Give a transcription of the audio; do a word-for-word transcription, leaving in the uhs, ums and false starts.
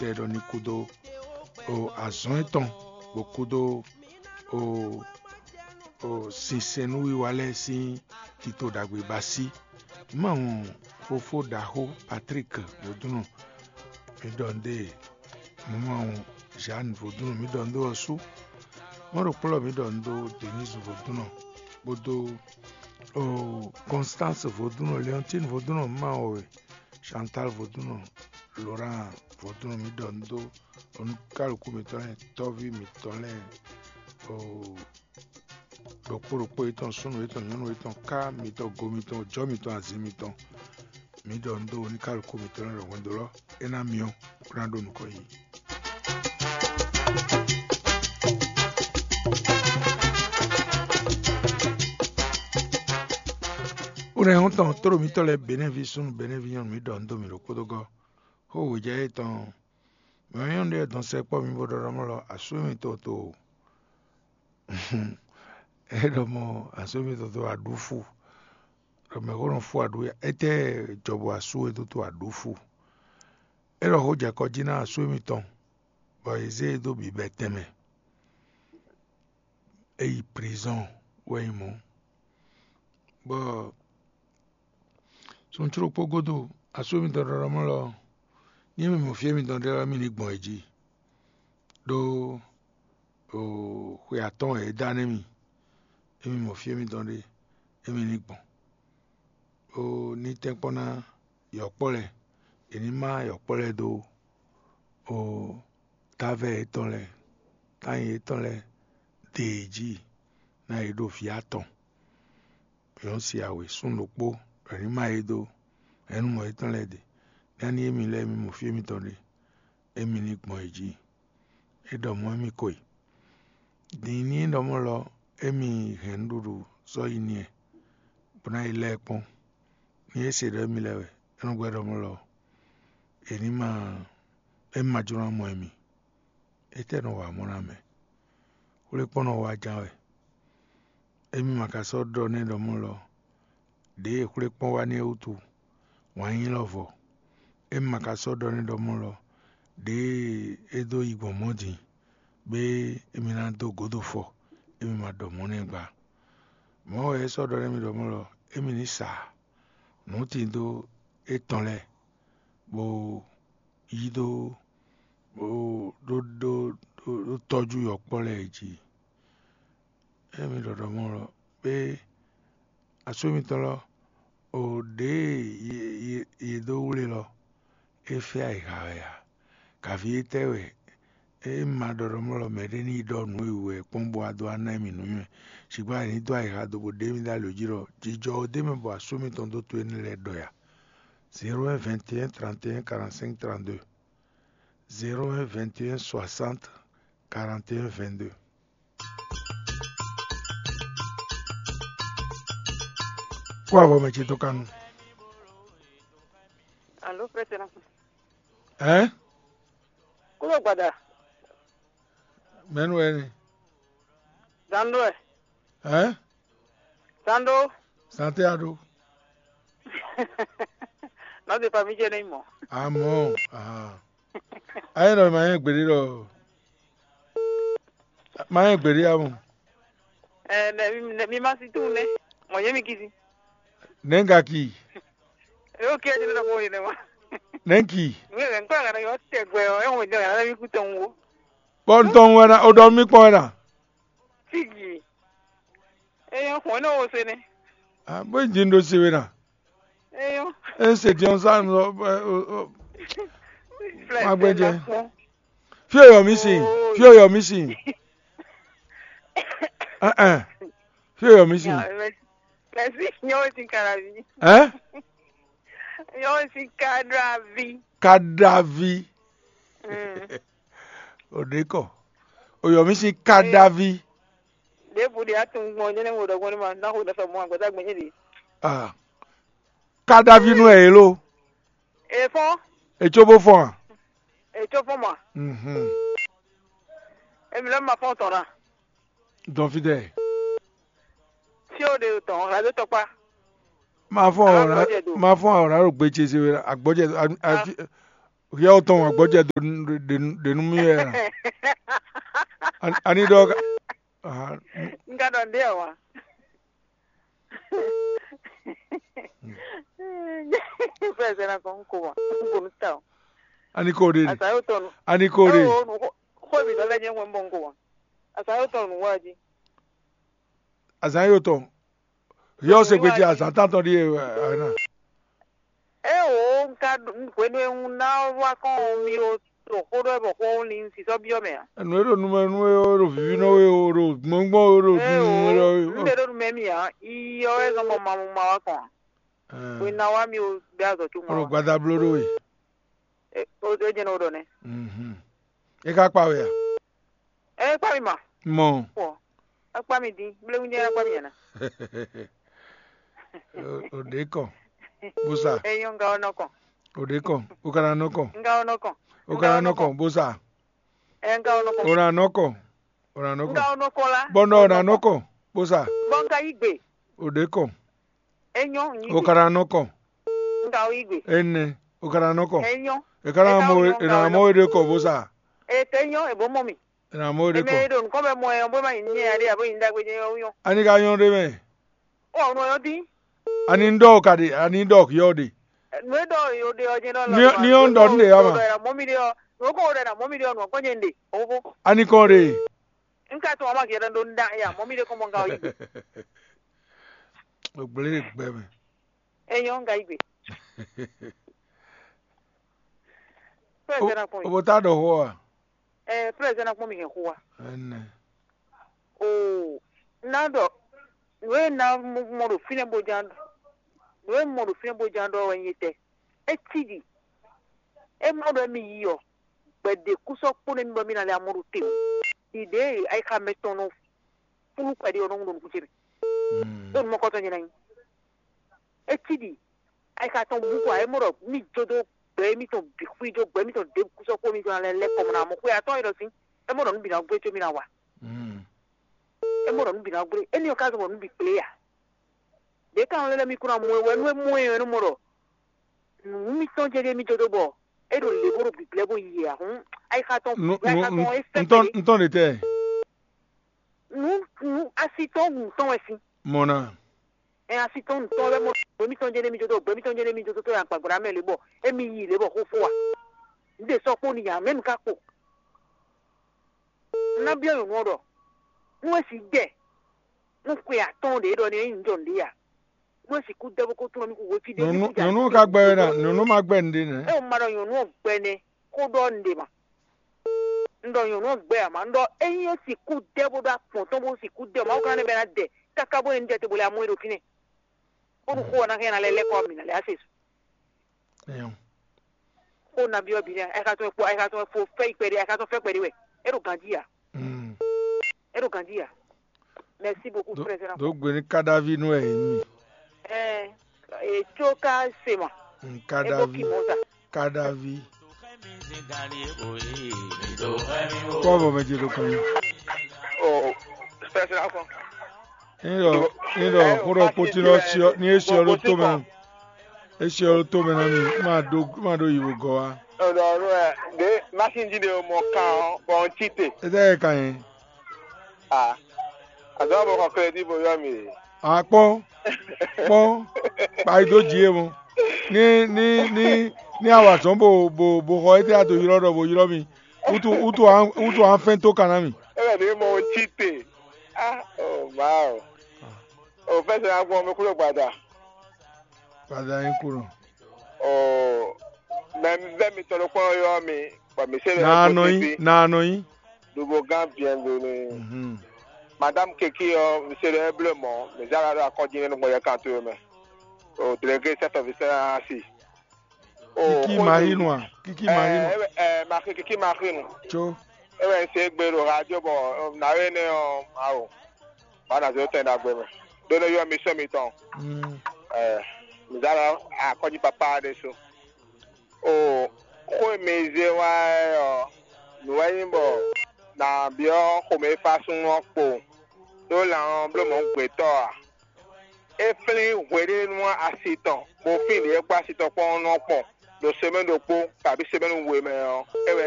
tɛ ɖɔ ní kúdó o azɔn étɔn, bó kúdó o o sinsɛnnúwiwa lɛ́ɛ sín tito ɖagbe ba sí. Mí ma wɔn fofó ɖaxó Patrick Vodúnɔ, mí ɖɔ nǔ ɖe. Mí ma wɔn Jeanne Vodúnɔ, mí ɖɔ nǔ ɖe ɔ́ sú. Mɔ̌ ɖo kplɔ́ mí ɖɔ nǔ ɖo Denise Vodúnɔ, kpódó o Constance Vodúnɔ, Léontine Vodúnɔ, mí ma wɔn we, Chantal Vodúnɔ, Laurent Vodúnɔ, mí ɖɔ nǔ ɖo onúkálukú mǐtɔn lɛ́ɛ, tɔ́ví mǐtɔn lɛ́ɛ, o ɖokpó ɖokpó yětɔn, súnnu yětɔn, nyɔ̌nu yětɔn, ká mitɔn, go mitɔn, jɔ̌ mitɔn, azin mitɔn, mǐ ɖɔ nǔ dó oníkálukú mǐtɔn lɛ́ɛ ɖɔ hwɛndo lɔ é ná myɔ, bó ná ɖo nukɔn yi. Ó nɛ́ hɔn tɔn tló mǐtɔn lɛ́ɛ Benɛ́vi súnnu, Benɛ́vi nyɔ̌nu, mǐ ɖɔ nǔ dó mǐ ɖokpódó gɔ́. Xó wějɛ yětɔn mɛ nyɔ̌nu ɖé dɔn sɛkpɔ́ mi bó ɖɔ ɖɔ mɔ̌ lɔ asú mitɔn to. É ɖɔ mɔ asú mitɔn to aɖǔ fu, ɖɔ mɛ xó nɔ fú aɖǔ ya. Étɛ́ jɔ bɔ asú e dó to aɖǔ fu? É ɖɔ xó jɛ kɔ jí ná asú mitɔn, bɔ è zé e dó bǐbɛ́ tɛnmɛ. É yi prizɔ́n wɛ nyí mɔ̌. Bɔ suncúɖokpó gúdo, asú mitɔn ɖɔɖɔmɔ́ lɔ, ní mi mɔ fí e mitɔn ɖe lɛ́ɛ, mi ní gbɔn yě jí, ɖó xwe atɔ́ɔ́n e é dá nú émí, émí mɔ fí e mitɔn ɖe, émí ní gbɔn, bó ní tɛ́nkpɔ́n ná yɔ̌kpɔ́ lɛ́ɛ; è ní má yɔ̌kpɔ́ lɛ́ɛ dó távo yětɔn lɛ́ɛ, tányi yětɔn lɛ́ɛ de yě jí, ná yě ɖo vǐ atɔn. Yě nɔ si awě súnnu ɖokpó, è nǐ má yě dó hɛ̌nnumɔ yětɔn lɛ́ɛ ɖe, ní émí lɛ́ɛ mi mɔ fí émítɔn ɖe, émí ní gbɔn yě jí. É ɖɔ mɔ̌ émí ko e. Din ní é ɖɔ mɔ̌ lɔ, émí hɛn nǔɖuɖu sɔ́ yi n'i, bó ná yi lɛ́ ɛ kpɔ́n. Ní é se ɖɔ émí lɛ́ɛ wɛ, é nɔ gbɛ́ ɖɔ mɔ̌ lɔ, è ní ma émí ma jló ná mɔ émí. Étɛ́ nɔ wa mɔ̌ ná mɛ? Xwlékpɔ́n nɔ wa ján wɛ. Émí ma ka sɔ́ ɖɔ nɛ́ ɖɔ mɔ̌ lɔ, ɖěe xwlékpɔ́n wa n'i é wútu, wǎn nyí lɔ vɔ. Émí ma ka sɔ́ ɖɔ nɛ́ ɖɔ mɔ̌ lɔ, ɖěe é dó yi gbɔn mɔ̌ din, bɔ émí ná dó gǒdo fɔ, émí ma ɖɔ mɔ̌ nɛ́ gba. Mɔ̌ wɛ é sɔ́ ɖɔ nɛ́ mì ɖɔ mɔ̌ lɔ, émí ní sa nǔ tindó étɔn lɛ́ɛ, bó yí dó bó ɖó ɖó ɖó tɔ́jú yɔ̌kpɔ́ lɛ́ɛ jí. Émí ɖɔ ɖɔ mɔ̌ lɔ, pé asú mitɔn lɔ, o ɖěe yě dó wlé lɔ, é fɛ́ ayǐha wɛ ǎ. Kaví étɛ́ wɛ é ma ɖɔ ɖɔ mɔ̌ lɔ mɛɖé ní yi ɖɔ nǔ e wǔ wɛ kpɔ́n bó wá dó wá ná mì nǔnywɛ́? Sixú a ní dó ayǐha dó bó ɖe mì ɖó alǒ jí ɖɔ jijɔ ɔ́ d'é mɛ bɔ asú mitɔn dó to énɛ́ lɛ́ɛ ɖɔ ya. Zéro un vingt et un trente et un quarante-cinq trente-deux. Zéro un vingt et un soixante quarante et un vingt-deux. Kó avɔ mɛ ce tó kanu. Alo, président. Hein? Kúrò gbàdà. Mɛnu wɛ ni? Zando ɛ. Hein? Zando. Santé ado. Nɔ de pa mi jɛ ne mɔ. Amɔ. Ah. Ayi nɔ ma yɛ gbede lɔ. Ma yɛ gbede amɔ. Ɛ nɛ mi nɛ mi ma si tu nɛ. Mɔ yɛ mi kisi. Nɛngaki. Yo ke jɛ ne ko ne ma. Nɛnki. Mi nɛ ko ga yo te gbe yo e ho de ga mi ku ton wo. Bɔ ntɔn wɛ na, o dɔ mi kpɔn wɛ na. Fiji. Eyan xɔn ne wo se ne. Ah, bó yin din ɖo se we na. Eyan. E se diɔn sa nɔ. Magbɛjɛ. Fi o yɔ mi si. Fi o yɔ mi si. Ɛn ɛn. Fi o yɔ mi si. Mɛsi nyɔwo si karavi. Ɛn. Nyɔwo si karavi. Kadavi. O ɖe kɔ. O yɔ mi si kadavi. Ɖěbǔ ɖe atún gbɔn jɛnɛ wo ɖɔgbɔn ma ná xo ɖɔ sɔ mɔ agbada gbɛnyɛ ɖe. Ah. Kadavi nú ɛ yě lo. Efɔn. Etsó bó fɔn a? Etsó fɔn ma. Mhm. Emi lɛ ma fɔn tɔn na. Dɔn fi dɛ. Fi o de tɔn la do tɔkpa. Ma fɔn awra, ma fɔn awra ɖo gbe ce se wɛ agbɔjɛ afi. Hiɛ tɔn wǎn gbɔjɛ ɖe nú mì wɛ a? Ani ɖɔ ka? Aha. Un ka ɖɔ nɖé ɔ́ wá. Fɛsɛ na kɔn ko wa. Ko nu ta o. Ani ko ɖe. Asa yo tɔnu. Ani ko ɖe. Xo mi dɔ lɛ nyɛ ŋwe mbɔ ko wa. Asa yo tɔnu wa ji. Azan yo tɔn. Hiɛ se gbe ji azan tantɔ ɖi e ana. Eo un ka ɖu- un hwenu e un ná wá kɔn mi o ɖo xó ɖɔ bɔ xó li un sisɔ byɔ́ mɛ a? Nǔ e ɖo nu mɛ nú e o ɖo vǐvínɔ e o ɖo gbɔngbɔn e o ɖo Eo nu e un ɖe ɖo nu mɛ mi a? Iyɔ wɛ zɔn bɔ ma mu ma wá kɔn a? Hwenu ná wá mi o ɖe azɔ tso o ɖo mɔ. Gbadablo ɖo e. O jɛn o ɖɔ nɛ. Mhm. E ka kpa we a? Ɛ kpa mi ma. Mɔ. Pɔ. Akpa mi din. Blewu nyɛ akpa mi yɛn na. O ɖe kɔ. Busa. Eyɔn nga ɔnɔ kɔn. O ɖe kɔ. O kana nɔ kɔ. Nga ɔnɔ kɔn. O kana nɔ kɔ. Busa. Ɛ nga ɔnɔ kɔn. O na nɔ kɔ. O na nɔ Nga kɔ. ɔnɔ kɔn la. Bɔnɔ o na nɔ kɔ. Busa. Bɔ nga yi gbe. O ɖe kɔ. Eyɔn yi O gbe. Kana nɔ kɔ. Nga yi gbe. Ene. O kana nɔ kɔ. Eyɔn. E kana Eka mɔ o e yɔn na ka mɔ e ɖe kɔ. Busa. Ete eyɔn ebo mɔ mi. E na mɔ e ɖe Eme kɔ. ɖo nukɔn bɛ mɔ yɔn bó ma yi nyɛ aɖe abo yi ndagbe nyɛ yɔn yɔn. Ani ka nyɔ́ ɖe mɛ. Ɔ nɔ yɔn dín. Ani ɖɔ o ka ɖe. Ani ɖɔ o yɔ ɖe. Nu e ɖɔ yo ɖe ɔ jɛn ɖɔ Ni- ni yɔn ɖɔ nu ɖe ya ma. Mɔ mi ɖe ɔ. Nu ko ɖe na mɔ mi ɖe ɔ nu kɔn nyɛ ɖe. Obo. Ani kɔn ɖe. N ka tɔn ma gɛrɛ ɖo nda ya mɔ mi ɖe kɔn mɔ nga yi. O gblé ɖe gbɛ mɛ. Eyɔn nga yi gbe. Fɛn sɛ na kɔn O yi. bo ta ɖɔ xɔ a. Ɛ fɛn sɛ na kɔn mi hɛn xo wa. Ene. Oo, na ɖɔ nu e na mɔ ɖo fínɛ́ bó ján ɖɔ nu e mɔ ɖo fínɛ́ bó ján ɖɔ wɛ nyí tɛ. É cí ɖi é má ɖɔ émí yi ɔ, gbɛ̌ ɖě kú sɔ́ kpó nú émí bɔ émí ná lɛ́ amɔ ɖo te o. Ɖiɖě e ayixa mɛtɔn nɔ flú kpɛɖé ɔ́ nɔ ɖo nukún ce mɛ. Ɖó nu mɔkɔtɔn nyɛ ná nyí. É cí ɖi ayixa tɔn bú kɔ é mɔ ɖɔ mí jó dó gbɛ émítɔn bǐ xwí jó gbɛ émítɔn ɖěbǔ kú sɔ́ kpó mítɔn ná lɛ́ lɛ́ kɔ mɔ ná mɔ xwé atɔ́ é ɖɔ sín é mɔ ɖɔ nú bǐ ná gbé có mí ná wa. É mɔ ɖɔ nǔ bǐ ná gblé. Énɛ́ ɔ́ ka zɔn bɔ nǔ bǐ kplé ǎ. Ɖě ka nɔ lɛ́ mi kún ná mɔ ɛ wɛ nú é mɔ ɛ ɔ́, é nɔ mɔ ɖɔ nǔ mitɔn jɛ́n ɖíe mì jó dó bɔ é ɖo lě bó ɖo bǐblɛ́ bó yi ǎ. Hǔn ayixa tɔn Nu- ayixa nu- tɔn é nu- ntɔn fɛ́ ntɔn ɖe tɛ. nǔ nǔ asi tɔn nǔ tɔn wɛ sín. Mɔna. Ɛ asi tɔn nǔ tɔn wɛ mɔ gbɛ mitɔn jɛ́n ɖíe mì jó dó gbɛ mitɔn jɛ́n ɖíe mì jó dó tó yà gbàgbà mɛ lě bɔ émi yi lě bɔ xó fó wa. Nǔ ɖe sɔ́ kpó n'i ǎ, mɛ̌ nu ka kpo? Ná byɔ́ nyɔ̌nu ɔ́ ɖɔ nú é sixú jɛ nú xwe atɔ́ɔ́n ɖě ɖɔ n'i é nyí jɔ nǔɖé ǎ. Nú é sixú dɛ́ bó kó tlɔ́n mì xúxú fí ɖé Nyɔnu nyɔnu ka gbɛ wɛ na nyɔnu ma gbɛ nɖe nɛ. É wò ma ɖɔ nyɔ̌nu ɔ́ gbɛ nɛ́ xó ɖɔ nǔɖé ma. Un ɖɔ nyɔ̌nu ɔ́ gbɛ ǎ ma, un ɖɔ ényí é sixú dɛ́ bó ɖó akpɔ̌n tɔn bó sixú dɛ Mawu kan nɛ́ bɛ́ ná dɛ káká bó nyí un jɛ te bó lɛ́ amú é ɖo fínɛ́, bónú xó ɔ́ ná hɛn ná lɛ́ lɛ́ kɔ mǐ ná lɛ́ á se su. Ɛyɔ. Xó nabí ɔ́ bǐ nɛ́ ayixatɔ́ e kpo ayixatɔ́ e fo fɛ́ yi kpɛɖé ayixatɔ́ fɛ́ kpɛɖé wɛ é ɖo ganjí ǎ. Mm. É ɖo ganjí ǎ. Merci beaucoup, Do frère Zéna. do gbe ní kadavi nú ɛ yìí mi. Ɛɛ, ètò ká se mɔ. Ebo Kadavi kì mɔ sa. Kadavi. Kpɔ bɔ mɛ dze ɖo kan. Oh, special alcohol. Ŋɖɔ ŋɖɔ kúɖɔ kpótí lɔ siɔ ní é siɔ ɖó tó mɛ. É siɔ ɖó tó mɛ ná mi. Má ɖó má ɖó yi wò gɔ wá. Ọ̀dọ̀ ọ̀rọ̀ ẹ̀ dé máṣíìnì jíde ọmọ kan ọ̀ bọ̀ ń títè. É tẹ́ ẹ kàn yín. Ah, àdó ọmọ kan kéré dìbò yọ mi. Akpɔn kpɔn kpayi dó dzi é mɔ. Ní ní ní ní awazɔn bo bo bo xɔ é tɛ ato ylɔ ɖɔ bo ylɔ mi. Utu utu an utu an fɛn tó kan ná mi. Ẹ bẹ̀ ní mo ń títè. Ah, oh, wow. Ò fẹ́ sẹ́ agbọ́n mi kúrò gbàdà. Gbàdà yín kúrò. Ò mẹ bẹ́ mi tọrọ kpọ́n yọ mi. Bọ̀ mi ṣe lè Nàánú yín nàánú yín. Dùbò gán bienvenue. Mhm. Madame Keki ɔ, mi ṣe lè bleu mɔ. Mi zara ɖo akɔji nínú gbɔn yɛ kan tó mɛ. Ò délégué chef de service asi. Kiki Marie nua. Kiki Marie nua. Ɛ ɛ Marie Kiki Marie nu. Tso. Ewɛ n se gbe ɖo radio bɔ nawe nɛ ɔ awo. Ba na zɔ tɛn ɖagbe mɛ. Ɖo ne yɔ mi sɔ mi tɔn. Mm. Ɛ mizala akɔji papa ɖe so. O xo e mi ze wa ɛ ɔ nu wɛ nyi bɔ na biɔ xome fa sun ɔ kpo. Ɖo lan ɔ blo mɔ gbetɔ a. E flin hweɖenu asi tɔn bo fin ɖe e kpɔ asi tɔn kpɔn nɔ kpɔn. ɖo semɛ́ni ɖokpó kabí semɛ́ni we mɛ ɔ́, é wɛ